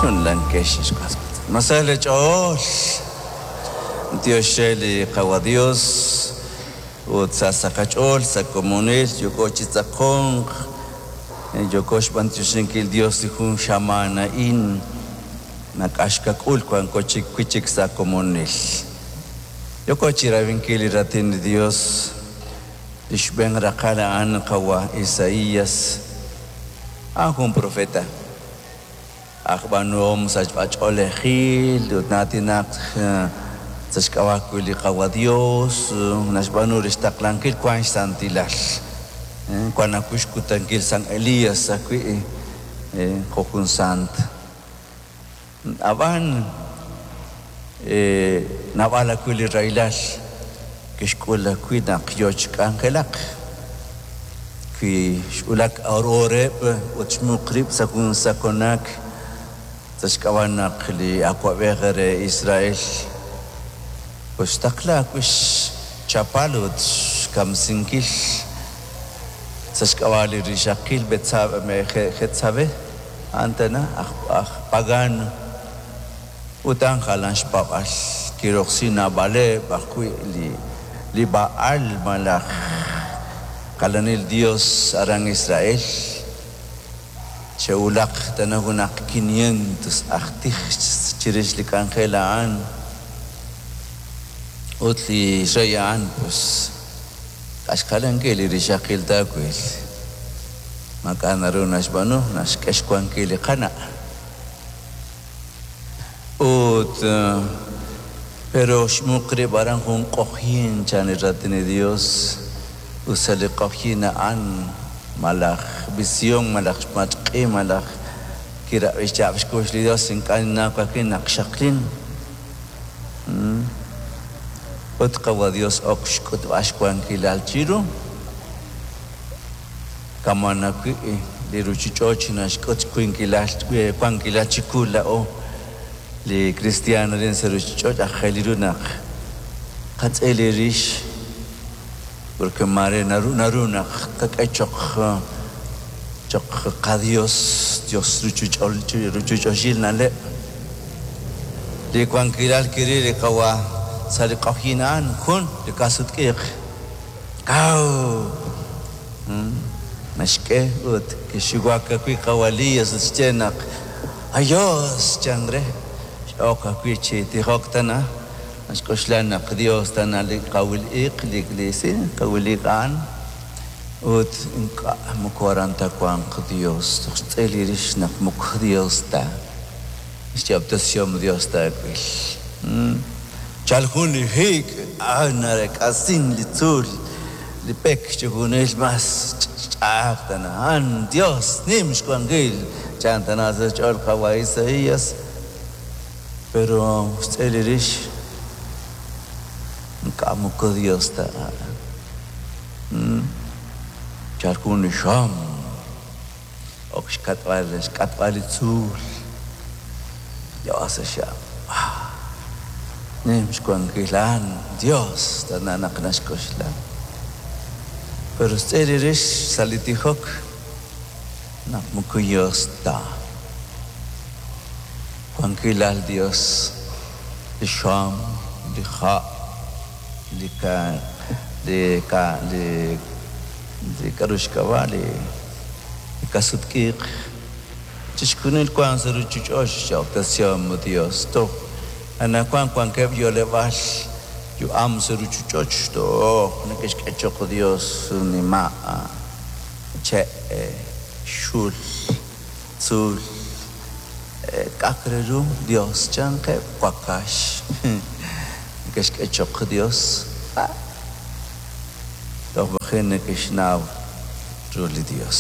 Chunlankex ex was wiitz'in. Ma sa lee ch'ool? B'antiox re li Qawa' Dios ut sa sa' qach'ool sa' komonil yooko chi tz'aqonq, yooko xb'antioxinkil Dios li jun xamaan a'in nak'axkak'ul wanko chik wi' chik sa' komonil. Yooko chi rab'inkil li Raatin li Dios, li xb'een raqal a'an Qawa' Isaías, a'an jun profeta. Aj b'aanuhom sachb'a-ch'oolejil ut na'aatinaq sa' xk'ab'a' ajwi' li Qawa' Dios, naxb'aanu re xtaqlankil wank xsantilal. Wank ajwi' xkutankil San Elías ajwi' jo' jun sant. Ab'an naab'al ajwi' li rahilal kixk'ul ajwi' naq yoo chi k'anjelak. Wi xwulak Horeb ut xmuq rib' sa' jun sakonak sa' xk'ab'a' naq li awab'ej re Israel koxtaqla ajwi' xchapal ut xkamsinkil sa' xk'ab'a' li rixaqil Betsabé, a'an tana aj pagano ut a'an jalan xpaab'al, kiroksi naab'aleb' ajwi' li Baal malaj jalanil dios aran Israel. Xe'wulak tana junaq quinientos aj tij chirix li k'anjel a'an ut li rey a'an pues k'axkalankil li rixaqil taawil. Maak'a' naru naxb'aanu, naxk'e xwankil li qana'. Ut, pero xmuq rib' aran jun q'ojyin, chan li Raatin li Dios, ut sa' li q'ojyin a'an, malaj vision, malaj xmatk'i, malaj kirab'i xyaab' xkux li Dios, ink'a' ninnaw ka'ajwi' naq xaqlin. Ut Qawa' Dios ok xk'utb'al xwankilal chiru. Kama' ajwi' li ruchich'och naxk'ut xwinqilal wankilal chiqu laa'o li kristiaan arin sa' ruchich'och', aajel ru naq qatz'il li rix, porque maare naru naru naq qak'e choq choq qaDios, Dios ruchich'och'il na'leb'. Li wankilal kiril li Qawa' sa' li q'ojyin a'an jun li ka'sutq'iiq. Kaw! Naxk'e ut kixuwak ajwi' Qawa' Elías ut xye naq aYos chan re. X'ok ajwi' chi tijok tana, naxk'oxla naq Dios tana li kawil iq, li si, kawil iq a'an. Ut ink'a' moko aran ta wanq Dios, toj xtz'il li rix naq moko Dios ta. Xyob'tesihom Dios taawil. Chal jun li hiik, a'an narek'asin li tzuul, li pek chixjunil mas ch'a'aj tana. A'an Dios nim xwankil, chan tana sa' xch'ool qawa' Isaías. Pero xtz'il li rix, ink'a' moko Dios ta a'an. Chal jun li xam. Ok xk'atb'al xk'atb'al li tzuul Dios sa' xyaab'. Nim xwankil a'an Dios tana naq naxk'oxla. Pero xtz'il li rix sa' li tijok naq moko Dios ta. Wankilal Dios, li xam, li ha', li ka, li ka, li Li k'a'ru xk'ab'a' li kasut-k'iiq, chixjunil wank sa' ruchich'och' xyob'tesihom li Dios. Toj anajwan wankeb' yo'leb'aal yu'am sa' ruchich'och' toj neke'xk'e choq' Dios nima', che', xul, tzuul, k'a'aq re ru Dios chankeb', wakax neke'xk'e choq' Dios. Toj maji' neke'xnaw ru li Dios.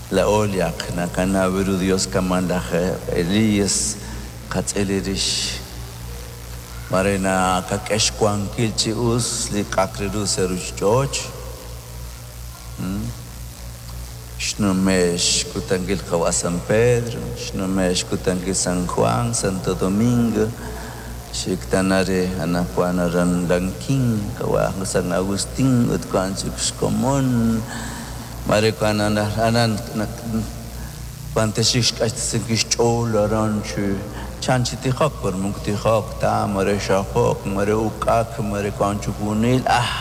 Laa'o li ak naqanaw ru Dios kama' laj Elías qatz'il rix. Maare naqak'e xwankil chi us li k'a'aq re ru sa' ruchich'och'. Xnume' xkutankil qawa' San Pedro, xnume' xkutankil San Juan, Santo Domingo, xik tana re anaqwan aran Lanquín, qawa' San Agustín ut wank chik xkomon. Maare wank aran Wan texik xq'axtesinkil xch'ool aran chi chan chi tijok, pero moko tijok ta, mare xajok, mare uk'ak, mare wank chi junil, ah!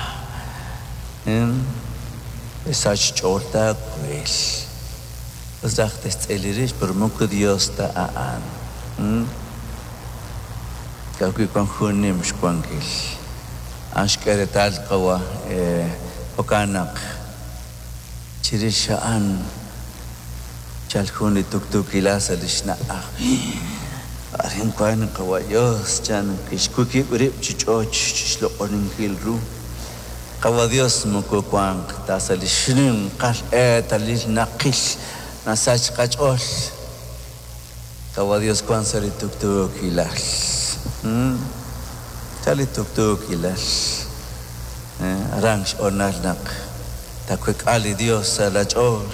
Sach xch'ool taawil. Us raj te'xtz'il rix, pero moko Dios ta a'an. Ka'ajwi' wank jun nim xwankil. A'an xk'e reetal qawa' jo'kan naq chirix a'an chalk jun li tuktuukilal sa' li xna'aj. Arin wank qawa' Yos, chan kixkukib' rib' chi ch'och chi xloq'oninkil ru. Qawa' Dios moko wanq ta sa' li xninqal eetalil naqil nasach qach'ool. Qawa' Dios wank sa' li tuktuukilal. Sa' li tuktuukilal. Aran xhoonal naq taawek'a li Dios sa' laach'ool.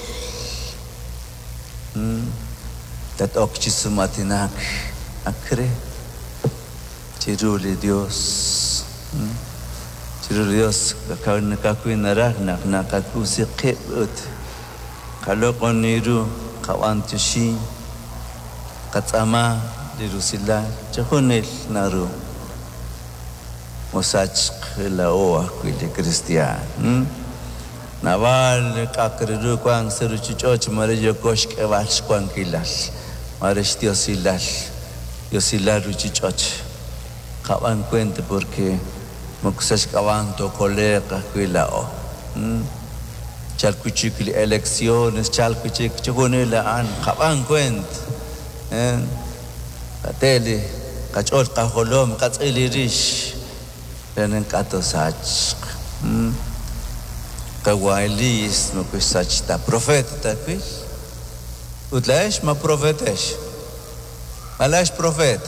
Tat-ok chi sum'aatinak ak re chiru li Dios. Chiru li Dios ka'ajwi' naraj naq naqakub'si qib' ut qaloq'oni ru, qab'anyoxi, qatz'aama li rusilal, chixjunil naru. Mosachq laa'o ajwi' li kristiaan. Naab'al li k'a'aq re ru wank sa' ruuchich'och' mare yooko xk'eb'al xwankilal, mare xdiosilal, diosilal ruuchich'och'. Qab'an kuent porque moko sa' xk'ab'a' tookole'q ajwi' laa'o. Chalk wi' chik li elecciones, chalk wi' chik chixjunil a'an, qab'an kuent. Qate li qach'ool qajolom, qatz'il li rix re naq ink'a' toosachq. Qawa' Elías moko xsach ta, profeet taawil. Ut laa'ex ma profeetex? Ma laa'ex profeet?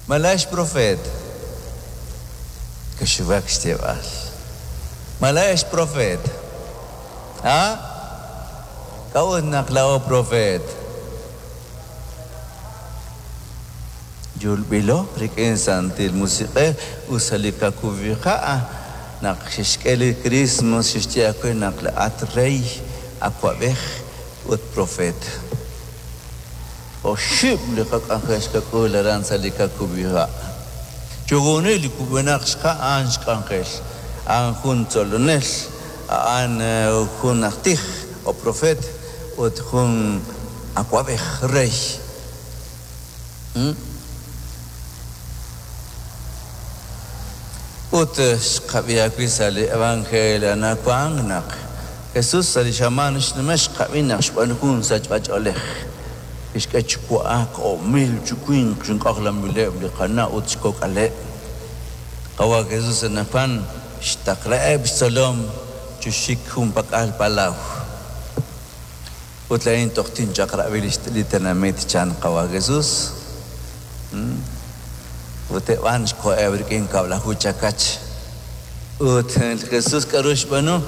Ma laa'ex profeet? Kixuwak xyeeb'al. Ma laa'ex profeet? A? K'a'ut naq laa'o profeet? Yulb'ilo rik'in Santil Musiq'ej ut sa' li kakub'iha' naq xe'xk'e li Christmas xe'xye aawe naq laa'at rey, awa'b'ej ut profeet. Oxib' li qak'anjel xqak'ul aran sa' li kakub'iha'. Chixjunil li kub'enaq xha' a'an xk'anjel. A'an jun tzolonel, a'an jun aj tij o profeet ut jun awa'b'ej, rey. Ut xqab'i ajwi' sa' li evangelio anaqwan naq Jesús sa' li xamaan xnume' xqab'i naq xb'aanu jun sachb'ach'oolej. Kixk'e chi wa'ak o'mil chi winq chi k'ojlanb'ileb' li qana' ut xkok'aleb'. Qawa' Jesús anaqwan xtaqlaheb' xtzolom chi xik junpak'al palaw. Ut laa'in toj tinchaq'rab'i li tenamit, chan Qawa' Jesús. Ut eb' a'an xkoheb' rik'in kab'laju chakach. Ut li Jesús k'aru xb'aanu?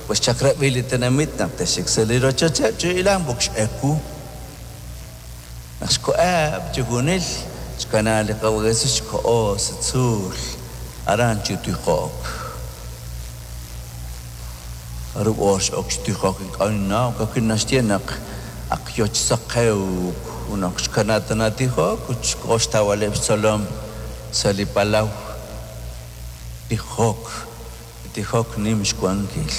Pues xchaq'rab'i li tenamit naq te'xik sa' li rochocheb' chi hilank b'oq x'ewu. Naq xkoheb' chixjunil, xkanaak li Qawa' Jesús xkoho sa' tzuul aran chi tijok. Jarub' oor x'ok chi tijok ink'a' ninnaw, ka'ajwi' naxye naq ak yo chi saqewk ut naq xkana tana tijok ut xkoho xtawb'aleb' xtzolom sa' li palaw. Tijok, li tijok nim xwankil.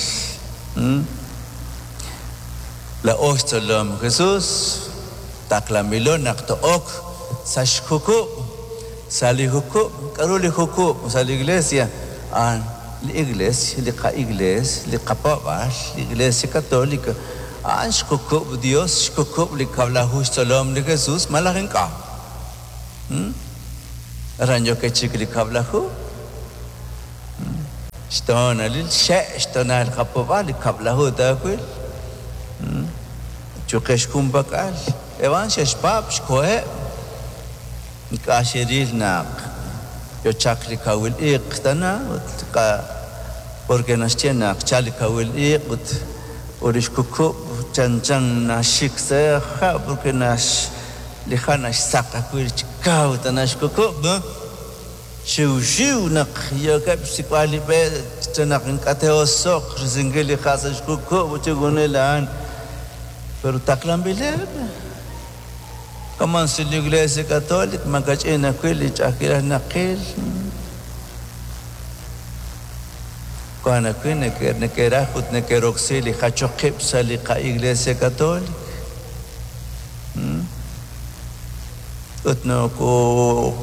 Laa'o xtzolom Jesús, taqlanb'ilo naq to'ok sa' xjukub', sa' li jukub'. K'aru li jukub' sa' li iglesia? A'an li Iglees, li qa-Iglees, li qapaab'aal, li Iglesia Católica, a'an xjukub' Dios, xjukub' li kab'laju xtzolom li Jesús, malaj ink'a'? Aran yookeb' chik li kab'laju xtoonalil, xxe' xtoonal qapaab'aal, li kab'laju taawil. Chuqex junpak'al, eb' a'an xe'xpaab' xkoheb'. Ink'a' xeril naq yo chaq li kawil iq' tana ut ink'a' porque naxye naq chal li kawil iq' ut ut li xkukub' chanchan naxik sa' ha' porque nax li ha' naxsaq ajwi' chi kaw tana xkukub'. Xiwxiw naq yookeb' xsik'b'al li b'e re naq ink'a' te'oso'q risinkil li ha' sa' xkukub' ut chixjunil a'an. Pero taqlanb'ileb'. Kaman sa li Iglesia Católica, makach'in ajwi' li ch'a'ajkilal naqil. Wan ajwi' neke'raj ut neke'roksi li jachok qib' sa' li qa-Iglesia Católica. Ut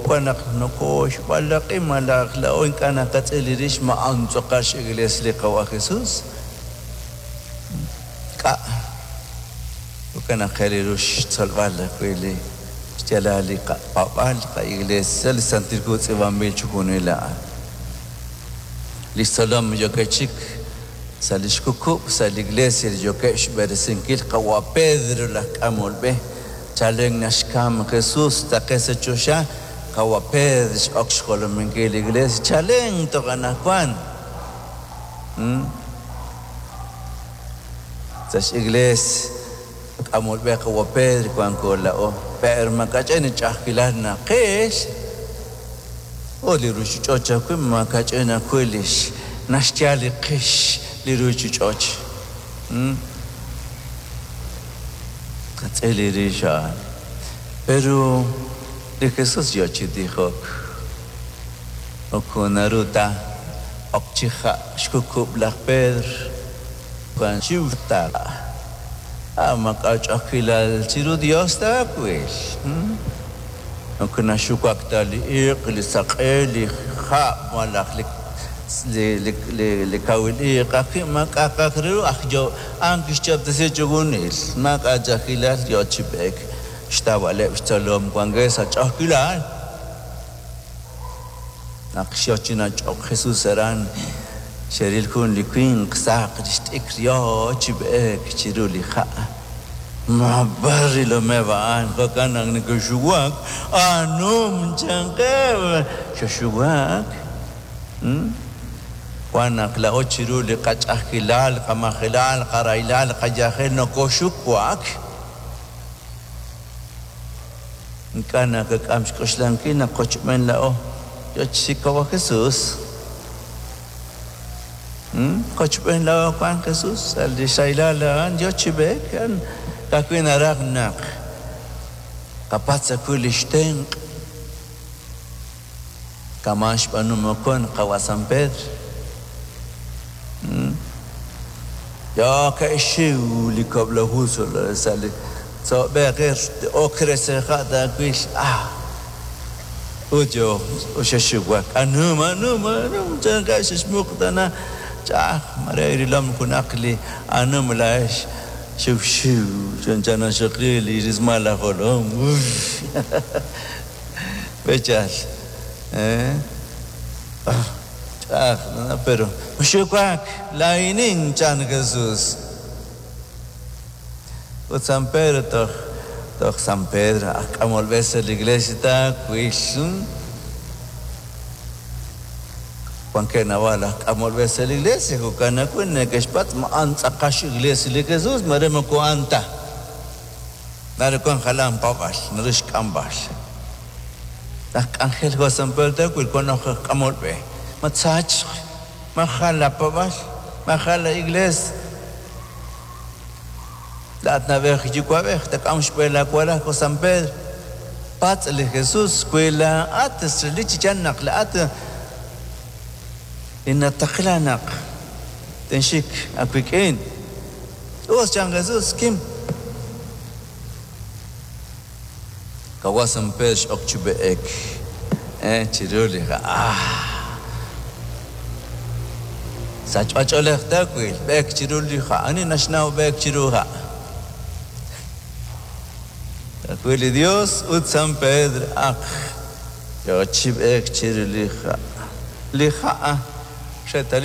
wan naq nokooxb'alaq'i malaj laa'o ink'a' naqatz'il rix ma a'an tz'aqal x'Iglesia li Qawa' Jesus. K'a'. Jo'kan naq qe li ru xtzolb'al ajwi' li xyaalal li qapaab'aal, li qa-Iglesia, li Santil Hu tz'iib'anb'il chi junil a'an. Li xtzolom yookeb' chik sa' li xkukub' sa' li Iglesia li yookeb' xb'eresinkil Qawa' Pedro laj k'amol b'e. Chalen naxkam Jesus taqe sa' choxa, Qawa' Pedro x'ok xjolominkil li Iglesia chalen toj anaqwan. Sa' x'Iglees k'amol b'e Qawa' Pedro wanko laa'o. Pero makach'in li ch'a'ajkilal naqil ut li ruchich'och ajwi' makach'in ajwi' li naxyal li qix li ruchich'och. Tqatz'il li rix a'an. Pero li Jesus yo chi tijok. Moko naru ta ok chi ha' xkukub' laj Pedro. Wan xiw ta. A' maak'a' ch'a'ajkilal chiru Dios taawil. Moko naxuwak ta li iq', li saq'e, li hab' malaj li li kawil iq' ajwi' maak'a'aq re ru aj yo a'an kixyoob'tesi chixjunil. Maak'a' ch'a'ajkilal yo chi b'eek xtawb'aleb' xtzolom wankeb' sa' ch'a'ajkilal. Naq xyo chi nach'ok Jesus aran, xeril jun li winq saq li xt'ikr yo chi b'eek chiru li ha'. Ma b'ar rilomeb' a'an, jo'kan naq neke'xuwak, Anum chankeb', xexuwak. Wan naq laa'o chiru li qach'a'ajkilal, qamajelal, qarahilal, qayajel nokoxuwak. Ink'a' naqak'am xk'oxlankil naq qochb'een laa'o yo chi Qawa' Jesus. Qochb'een laa'o wank Jesus sa' li xsahilal a'an yo chi b'eek, a'an ka'ajwi' naraj naq qapatz' ajwi' li xtenq'. Kama' xb'aanu moqon Qawa' San Pedro. Yo ke'xxiw li kab'laju sa' li tzo'b'eq ok re seja' taawil ah ut yo xexuwak anum anum anum chankeb' xexmuq tana ch'a'aj mare rilom junaq li anum laa'ex xiwxiw chanchan naxaqli li rismal laj jolom. B'echal, eh? Ch'a'aj, pero mexuwak, laa'inin, chan Jesus. Ut San Pedro toj, toj San Pedro, aj k'amol b'e sa' li iglesia taawil. Wankeb' naab'al aj k'amol b'e sa' li iglesia, jo'kan ajwi' neke'xpatz' ma a'an tz'aqal x'iglesia li Jesus, mare moko a'an ta. Naru wank jalan paab'al, naru xk'amb'al. Laj k'anjel jo' San Pedro taawil wank aj k'amol b'e. Ma tsachq, ma jal la paab'al, ma jal la iglees. Laa'at na'b'ej yuwa'b'ej, taak'am xb'e laawalal jo' San Pedro. Patz' li Jesus wi laa'at relik chi yaal naq laa'at li nataqla naq tinxik aawik'in. Us, chan Jesus, kim. Qawa' San Pedro x'ok chi b'eek chiru li ha'. Ah! Sachb'ach'oolej taawil, b'eek chiru li ha'. Ani naxnaw b'eek chiru ha'? Taawil li Dios ut San Pedro ak yo chi b'eek chiru li ha'. Li ha' xeetalil.